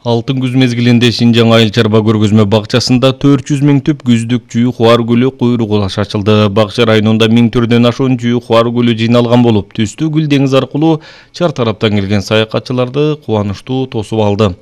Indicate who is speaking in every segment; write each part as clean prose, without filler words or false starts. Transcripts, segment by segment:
Speaker 1: Алтын күз мезгилинде Шинжаң айыл чарба көргөзмө бакчасында 400 000 түп күздүк жүйү хуар гүлү куйрук улаш ачылды. Бакча районунда 1000 түрдөн ашуун жүйү хуар гүлү жыйналган болуп, түстүү гүл деңиз аркылуу чар тараптан келген саякатчыларды кубанычтуу тосуп алды.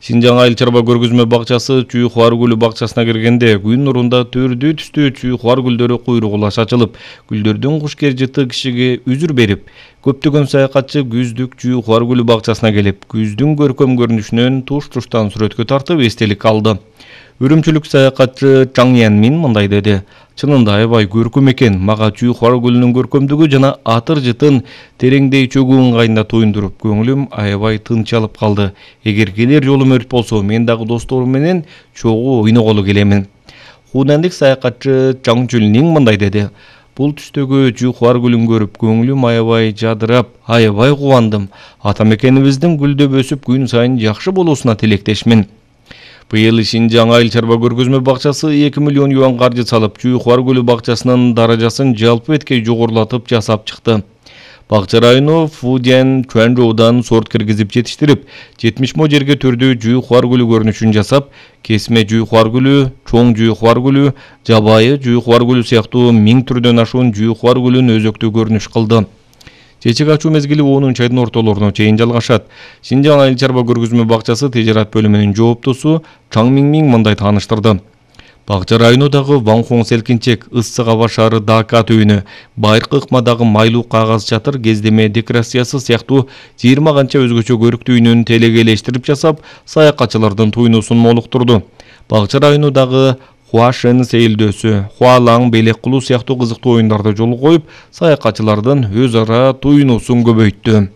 Speaker 1: Шинжаң айыл чарба көргөзмө бакчасы жүйү хуар гүлү бакчасына киргенде күн нурунда төрдүү түстүү жүйү хуар гүлдөрү куйрук улаш ачылып, гүлдөрдүн кушкер жыты кишиге үзүр берип, көптөгөн саякатчы күздүк жүйү хуар гүлү бакчасына келип, күздүн көркөм көрүнүшүнөн туштан сүрөткө тартып эстелик алды. Үрүмчүлүк саякатчы Чаң Янмин мындай деди: "Чынында аябай көркөм экен. Мага жүйү хуар гүлүнүн көркөмдүгү жана атыр жытын тереңдей чөгүү ыңгайында туюндуруп, көңүлүм аябай тынч алып калды. Эгер келер жолу өрт болсо, мен дагы досторум менен чогуу ойноголу келемин." Хунандык саякатчы Чаң Чүлнин мындай деди: "Бул түстөгү жүйү хуар гүлүн көрүп, көңүлүм аябай жадырап, аябай кубандым. Ата мекенибиздин гүлдөп өсүп, күн сайын жакшы болуусуна тилектешмин." Быйыл Шинжаң айыл чарба көргөзмө бакчасы 2 миллион юан каржы салып, жүйү хуар гүлү бакчасынын даражасын жалпы эткей жогорулатып жасап чыкты. Бакча району Фудян Чуанжоудан сорт киргизип жетиштирип, 70 мо жерге түрдүү жүйү хуар гүлү көрүнүшүн жасап, кесме жүйү хуар гүлү, чоң жүйү хуар гүлү, жабайы жүйү хуар гүлү сыяктуу 1000 түрдөн ашуун жүйү хуар гүлүн өзөктүү көрүнүш кылды. Чечек ачуу мезгили 10 айдын ортолоруна чейин жалгашат. Шинжаң айыл чарба көргөзмө бакчасы тижарат бөлүмүнүн жооптусу Чаң Миңмиң мындай тааныштырды. Бакча районундагы Ванхоң селкинчек, ыссык аба шаары Дака түйүнү, Байыркы ыкмадагы майлуу кагаз чатыр, кездеме декорациясы сыяктуу 20 канча өзгөчө көрүк түйүнүн телегейлештирип жасап, саякатчылардын туйнусун молуктурду. Бакча районундагы Хуашен сейилдөөсү, Хуалаң белек кылуу сыяктуу кызыктуу оюндарды жолго коюп, саякатчылардын өз ара туйнусун көбөйттү.